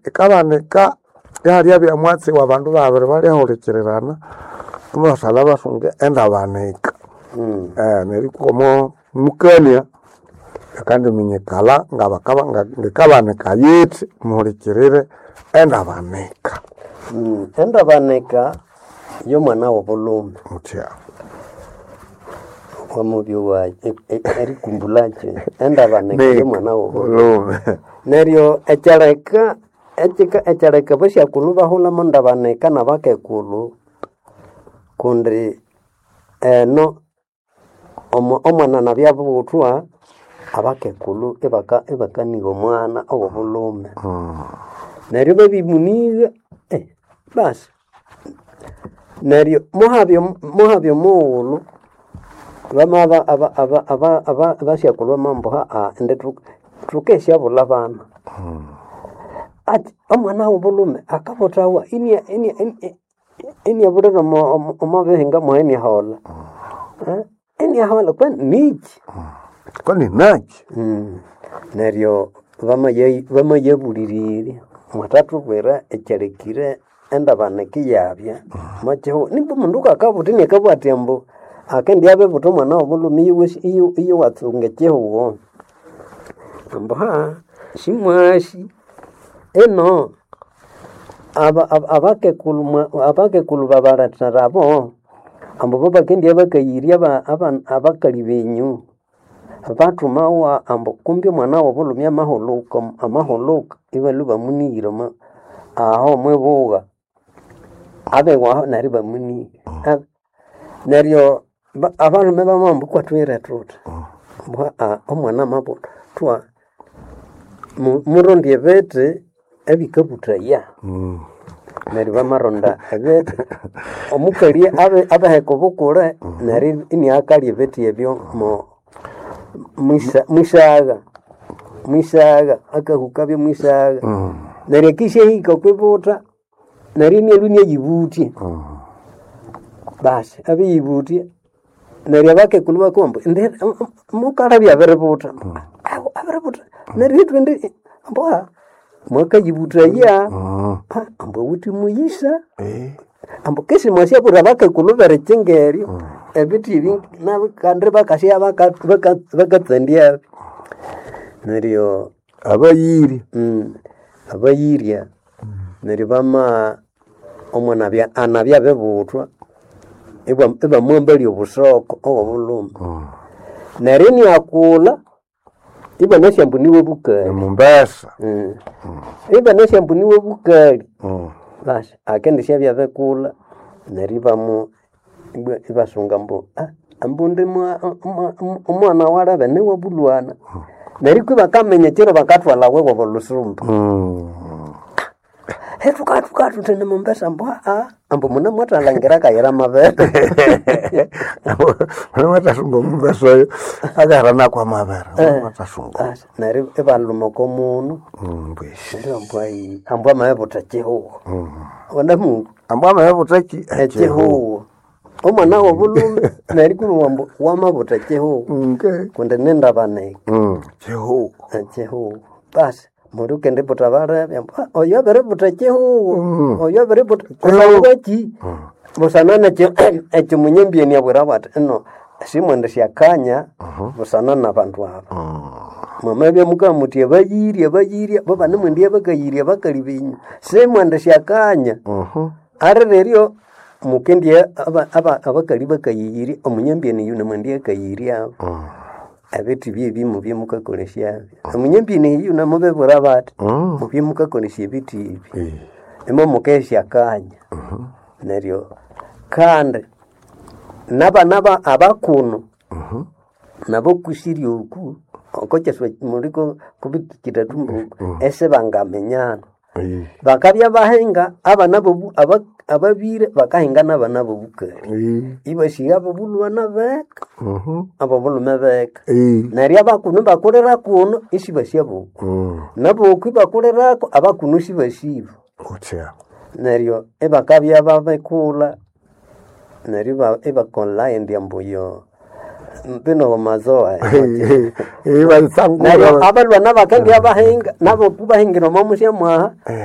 Ikabanika ihalyabya mwatsi w'abandu babiri balyahulikirirana ibasalha basunga endabanika. Neryo ikwa omo mukania yakandiminyikala ngabakaba ngikabanika yithi muhulikirire endabanika. Endabanika y'omwana w'obulhume. Muthya. Wamubyowa erikumbulakyo endabanika y'omwana w'obulhume. Obulhume. Neryo ekyaleka ekyika ekyaleka abasyakulhu bahulha ndabanika n'abakekulhu kundi eno omwana nabya abibuthwa abakekulhu ibakaniha omwana ow'obulhume. Neryo babimuniha basi neryo muhabya omughulhu bamabya abasyakulhu bamabugha ambu indi thukesyabulha abana. Ati omwana w'obulhume akabuthawa iniabulira omo bihinga mwayi iniaholha, iniaholha kwani niki? Kwani naki? Neryo bamayabuliriria mwathathubwira ekyalekire endabanika iyabya omwa kihugho nibwa omundu ngakabutha iniakabugha athi ambu akendibya abibutha omwana w'obulhume iyowa tsunga ekihugho. Ambu simwasi ino abakekulhu babalethera abo ambu bo bakendibya bakayirya abakali benyu bathumawa ambu kumbi omwana w'obulhume amahulhuka amahulhuka ibalhwa ibamunighira aho omwibugha abiwaho neryo ibamunigha. Neryo abalhume bamabugha ambu kwathwire thuthi ambu omwana amabuthwa murondye ebithi ebikabuthaya. Neryo bamaronda ebithi omukali abiheka obukule neryo iniakalya ebithi ebyo mwisagha mwisagha akahukabyo mwisagha. Neryo akisyahika okwibutha neryo inialhwa iniayibuthya. Basi abiyibutya neryo abakekulhu ibakabugha ambu indi mukalabya abiributha, abiributha neryo ithwe indi ambu mwakayibuthaya ambu awithe muyisa ambu kesi mwasyabwira abakekulhu b'erikyinga eryo ebithi ebi nabo kandi bakasya bakatsandyabyo. Neryo Abayiri. Abayirya neryo bama omwana anabya abibuthwa ibamwambalya obusoko obw'obulhume. Neryo iniakulha ibanasi ambu niwe bukali. Omumbesa. Ibanasi ambu niwe bukali basi akendisyabya abikulha neryo ibamu ibasunga ambu ambu indi omwana walebe niwe bulhwana. Neryo iko ibakaminya ekiro bakathwalha wiwe olusumba. Thukathuka thuthi ni Mombasa ambu ambu munemwathalhangira akayira amabere. Munemwathasunga omumbesa oyo akahera nakwa amabere munemwathasunga. Basi neryo ibalhuma oko mundu neryo ambu ambu amabibutha ekihugho. Wanamungu Ambu amabibutha ki? Ekihugho. Omwana w'obulhume neryo ikibugha ambu wamabutha ekihugho kundi nindabanika. Kihugho. Ekihugho. Basi mundu ukendibutha balebe ambu oyo abiributha ekihugho, oyo abiributha kusangwa ki? Busana nekyo ekyo munyambyeni abwirawo athi ino simwendisyakanya busana n'abandu aba. Mwamabya mukabugha muthi abayirya abayirya bo banemwendibya bakayirya abakali benyu simwendisyakanya. Alireryo mukendibya abakali bakayirya omunyambyeni oyu namwendibya akayiryabo. Ebithi byebi mubye mukakolesyabyo. Omunyambyeni eyu namubibwira bathi mubye mukakolesya ebithi ebi imo mukesyakanya. Neryo kandi n'abana abakunu nabo kusirya oku okokyaswa muliko kubitikira thumbuku esibangaminyana. Bakabya bahinga abana ababire bakahinga n'abana b'obukali. Ibasigha ab'obulhwana beka ab'obulhume beka. Neryo abakunu ibakulira kuno isibasi aboku. N'aboku ibakulirako abakunu isibasibo. Kuthya. Neryo ibakabya babikulha neryo ibakolha indi ambu oyo. Bino mazoa. Neryo Ibatsangura. abalwana bakandya bahinga nabo kubahingira omo musya mwaha.